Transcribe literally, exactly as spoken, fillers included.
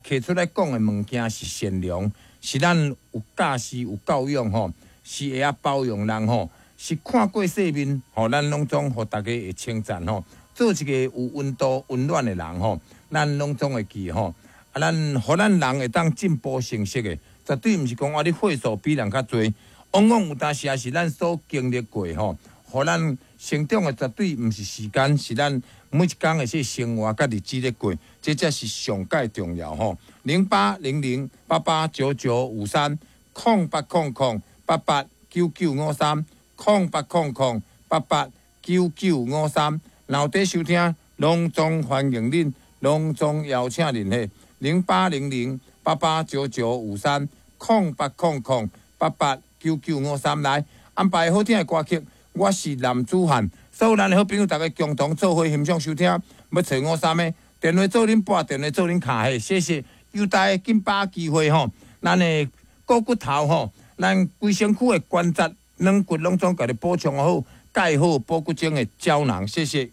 提出來講的物件是善良，是咱有教示有教養吼，是會曉包容人吼，是看過世面吼，咱攏總予大家會稱讚吼，做一個有溫度、溫暖的人吼，咱攏總會記吼。啊，咱予咱人會當進步成熟的，絕對毋是講啊，你歲數比人較濟，往往有當時也是咱所經歷過吼，予咱成長的絕對毋是時間，是咱每一工的這生活佮日子咧過，這才是上蓋重要吼。零八零零八八九九五三，空八空空八八九九五三，空八空空八八九九五三。若有佇收聽，攏總歡迎恁，攏總邀請恁嘿。零八零零八八九九五三，空八空空八八九九五三來安排好聽的歌曲。我是男子漢，所有咱的好朋友，大家共同做伙欣賞收聽。欲揣五三的電話做恁撥，電話做恁敲嘿，謝謝。有大家緊把握機會吼，咱的股骨頭吼，咱規身軀的關節軟骨攏總共你補充好，蓋好補骨精的膠囊，謝謝。